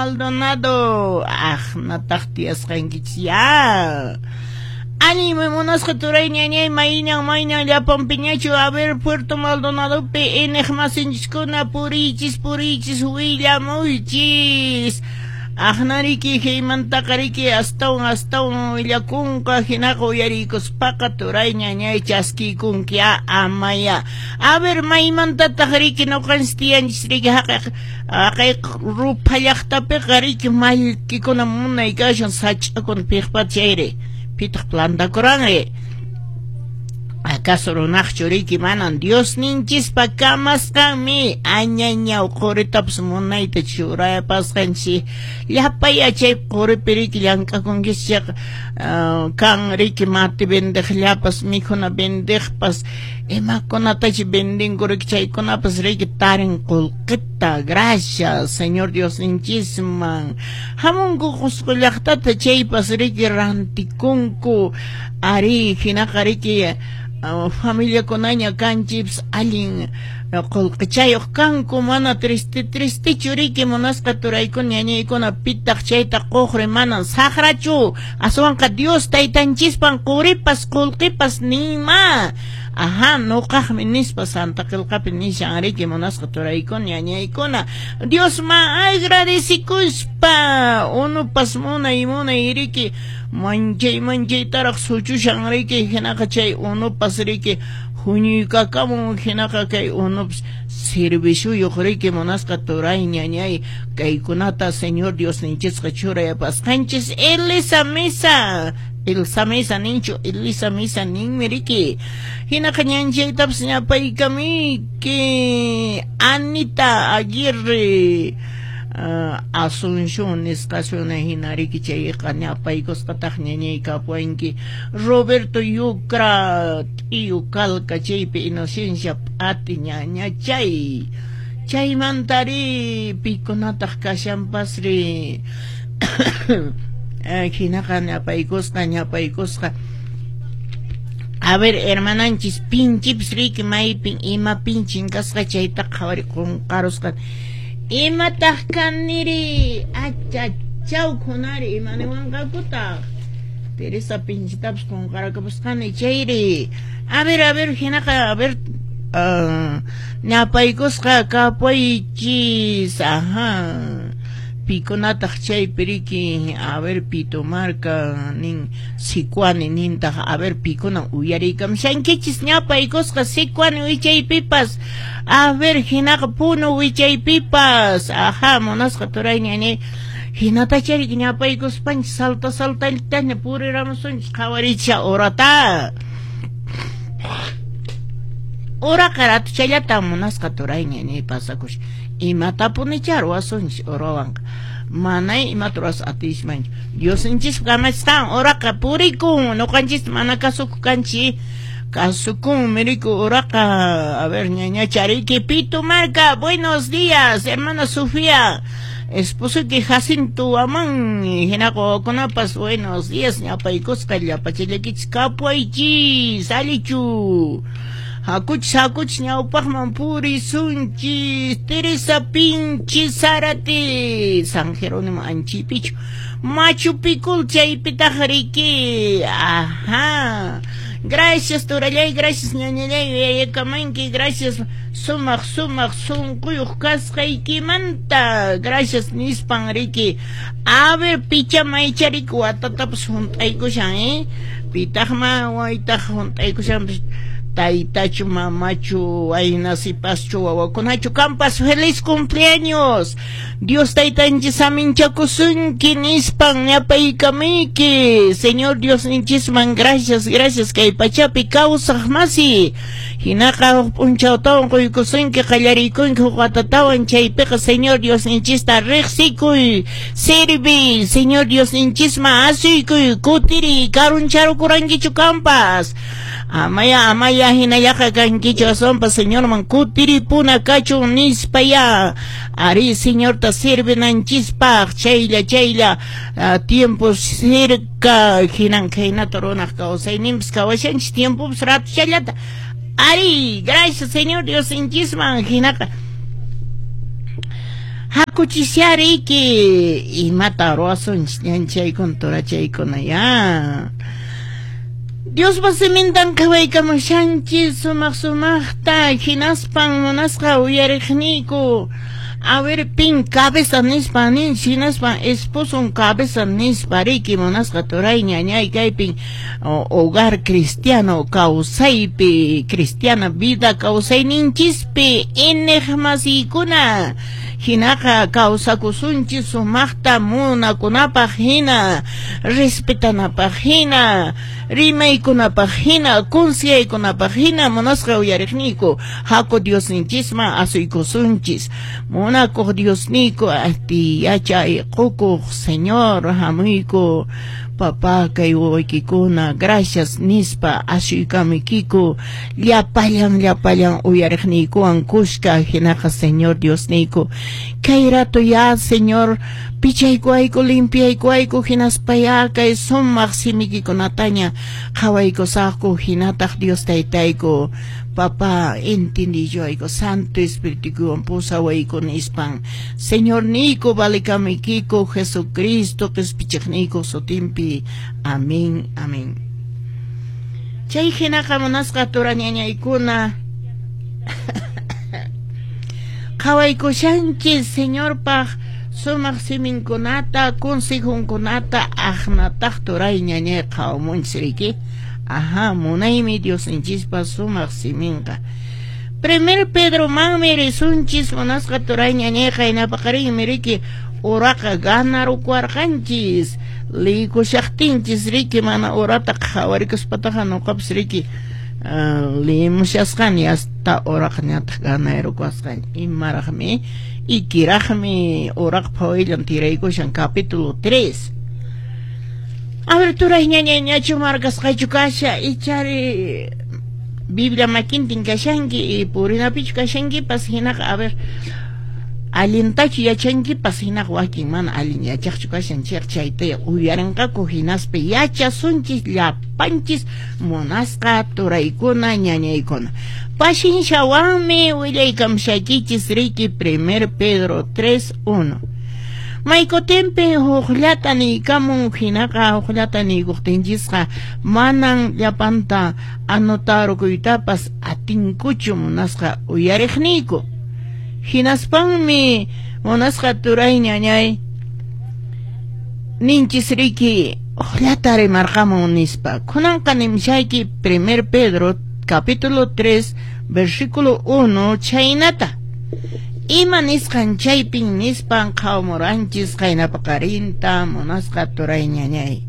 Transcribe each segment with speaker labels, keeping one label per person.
Speaker 1: Maldonado, aqnataq tiyasqankichis ya. Allin munasqa turay ñañay mayñan mayñan llapan piñachu a ver Puerto Maldonadopi iñiq masinchiskuna puriychis puriychis willamuychis. Aqnariki hiymantaqa riki astawan astawan willakunqa hinaqa uyariykuspaqa turay ñañay chaskiykunki amaya. A ver maymantataq riki ñuqanchis tiyanchis riki haqay haqay rupha llaqtapiqa riki mallkikuna munay kashan sach'akuna piqpata chayri pitaq plantakuranri. Acaso runaqchu riki manan Diosninchispa kamasqanmi añañaw quritapas munayta churapasqanchis llapa yachay quripi riki llank'akunkichis chayqa kan riki mati vendeqllapas mikhuna vendeqpas imakunatachi vendinku riki chaykunapas riki tarin qullqita gracias Señor Diosninchisman hamunku Qusqu llaqtata chaypas riki rantikunku ari hinaqa riki familiakunaña kanchis allin qullqichayuq kanku mana triste tristechu riki munasqa turaykuna ñañaykuna pitaq chayta quqri manan saqrachu aswanqa Dios taytanchispan quripas qullqipas nima aha nuqaqmi nispa Santa Qillqapi nishan riki munasqa turaykuna ñañaykuna Diosman agradecikuspa unupas munay munay riki manchay manchaytaraq suchushan riki hinaqa chay unupas riki huñuykakamun hinaqa kay unupas serviciuyuq riki munasqa turay ñañay kaykunata Señor Diosninchisqa churayapasqanchis Elisa Misa Elsa Misa ninchu Elisa Misa ninmi riki hinaqa ñanchaytapas ñapaykamiyki Anita Aguirre Asunción nisqasuna hina riki chayqa ñapaykusqataq ñañay kapuwanki Roberto Yucra T'iyu Calca chaypi Inocencia P'ati ñañachay chaymantari pikunataq kashanpasri hinaqa ñapaykusqa ñapaykusqa a ver hermananchis pinchipas riki maypin ima pinchin kasqa chayta qhawari qunqarusqa imataq kaniri achachaw khunari ima niwanqakutaq Teresa pinchitapas qunqarakapusqani chayri a ver hinaqa a ver ñapaykusqa kapuychis aha pikunataq chaypi riki a ver Pitumarca nin Sicuani nintaq a ver pikuna uyariykamushankichis ñapaykusqa Sicuani wichaypipas a ver hinaqa Puno wichaypipas aha munasqa turay ñañay hinatachariki ñapaykuspanchis salta saltallataña puriramusunchis qhawaricha horata Uraqa ratuchallatan munasqa turay ñañay pasakush imatapunichá ruwasunchis urawanqa manay imata ruwas atismanchu Diosninchispa kamachisqan uraqa purikun ñuqanchista mana kasukuq kanchis kasukunmi riku uraqa a ver ñañacha riki Pitumarca buenos días hermana Sofía esposoyki Jacinto Aman hinaqa wawakunapas buenos días ñapaykusqa llapachallaykichis kapuwaychis allichu hakuchis hakuchis ñawpaqman purisunchis Teresa Pinchi Zárate San Jerónimo Anchaypichu Machu Picul chaypitaq riki aha gracias turallay gracias ñañallay yayakamanki gracias sumaq sumaq sunquyuq kasqaykimanta gracias nispan riki a ver picha maycha riki watatapas hunt'aykushan pitaqma waytaq hunt'aykushanpas taytachu mamachu wayna sipaschu wawakunachu kampas feliz cumpleaños Dios taytanchis aminchakusunki nispan ñapaykamiyki Señor Diosninchisman gracias gracias kay pachapi kawsaq masi hinaqa huk p'unchawtawan quykusunki qallariykunki huk watatawan chaypiqa Señor Diosninchista riqsikuy sirvi Señor Diosninchisman asuykuy kutiriy karuncharukurankichu kampas amaya amaya hinallaqa kankichu aswanpas Señorman kutiripuna kachun nispa ya ari Señorta sirvinanchispaq chaylla chaylla tiempo cerca hinan khaynata runaq kawsayninpas kawashanchis tiempopas ratuchallata ari gracias Señor Diosninchisman hinaqa Hakuchishariki imata ruwasunchis ñanchaykuna turachaykuna ya. Diospa simintan qhawaykamushanchis sumaq sumaqta hinaspan munasqa uyariqniyku. A ver, pin cabeza nispa nin, hinaspan esposon cabeza nispa riki munasqa turay ñañay kaypin hogar cristiano kawsaypi, cristiana vida kawsayninchispi iñiqmasiykuna hinaqa kawsakusunchis sumaqta munakunapaq hina, respetanapaq hina, rimaykunapaq hina, consejaykunapaq hina munasqa uyariqniyku haku Diosninchisman asuykusunchis. Munakuq Diosniyku ati yachay qukuq Señor hamuyku papá kay wawaykikuna gracias nispa asuykamuykiku llapallan llapallan uyariqniykuwan kushka hinaqa Señor Diosniyku kay rato ya Señor pichaykuwayku limpiaykuwayku hinaspa ya kay sumaq simikikunataña qhawaykusaqku hinataq Dios taytayku papá entendiyuwayku Santo Espirituwan pusawayku nispan Señorniyku valikamuykiku Jesucristo qispichiqniyku sutinpi amén amén. Chay hinaqa munasqa turañañaykuna qhawaykushanchis Señorpaq sumaq siminkunata consejunkunata aqnataq turay ñañay qhawamunchis riki. Ajá, munaymi Diosninchispa sumaq siminqa. Primer Pedro manmi risunchis munasqa turay ñañay qaynapaqarinmi riki uraqa ganarukuwarqanchis liykushaqtinchis riki mana urata qhawarikuspataqa nuqapas riki limushasqani hasta uraqa ñataq ganayrukuwasqani imaraqmi ikiraqmi uraqa phawillan tiraykushan capítulo 3. A ver, turay ñañay ñachu markasqachu kasha ichari Biblia makintin kashanki y purinapichu kashankipas hinaqa a ver allintachu yachankipas hinaqa wakin mana allin yachaqchu kashan chayqa chayta uyarinqaku hinaspa yachasunchis llapanchis munasqa turaykuna ñañaykuna. Pashinshawanmi willaykamushaykichis riki 1 Pedro 3:1. Maykutinpin hukllata niykamun hinaqa hukllata niykuqtinchisqa manan llapanta anotarukuytapas atinkuchu munasqa uyariqniyku. Hinaspanmi munasqa turay ñañay ninchis riki hukllata rimarqamun nispa. Kunanqa nimshayki 1 Pedro capítulo 3 versículo 1 chaynata. Ima nisqan chaypin nispan qhawamuranchis qaynapaqarinta munasqa turay ñañay.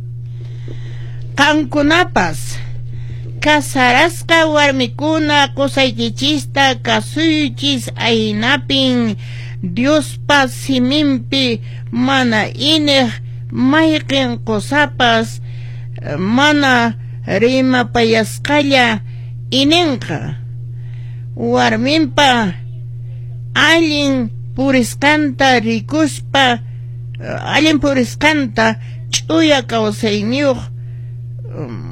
Speaker 1: Qankunapas casarasqa warmikuna qusaykichista kasuychis aynapin Diospa siminpi mana ineq mayqin qusapas mana rimapayasqalla ininqa warminpa allin purisqanta rikuspa allin purisqanta ch'uya kawsayniyuq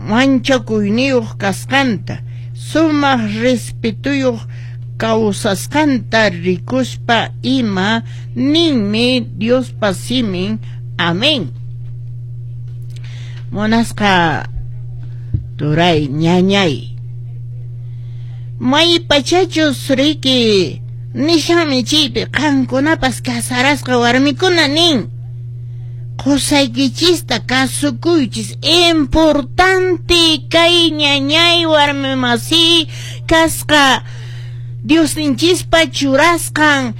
Speaker 1: manchakuyniyuq kasqanta sumaq respetuyuq kawsasqanta rikuspa ima ninmi Diospa simin. Amén. Munasqa turay ñañay may pachachus riki nishanmi chaypi qankunapas casarasqa warmikuna nin qusaykichista kasukuychis importante kay ñañay warmi masi kasqa Diosninchispa churasqan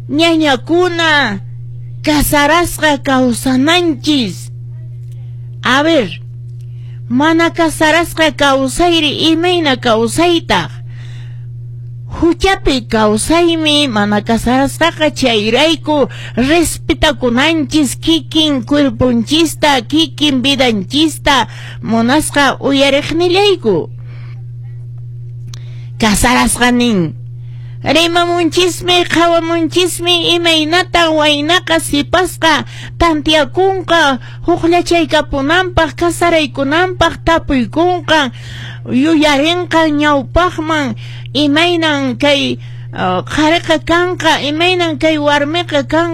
Speaker 1: ñañakuna casarasqa kawsananchis. A ver, mana casarasqa kawsayri imayna kawsaytaq huchapi kawsaymi mana casarasqaqa chayrayku respetakunanchis kikin cuerponchista kikin vidanchista munasqa uyariqnillayku. Casarasqa nin rimamunchismi qhawamunchismi imaynatan waynaqa sipasqa tantiakunqa hukllachaykapunanpaq casaraykunanpaq tapuykunqa yuyarinqa ñawpaqman imaynan kay Qhariqa kanqa, imaynan kay warmiqa kanqa.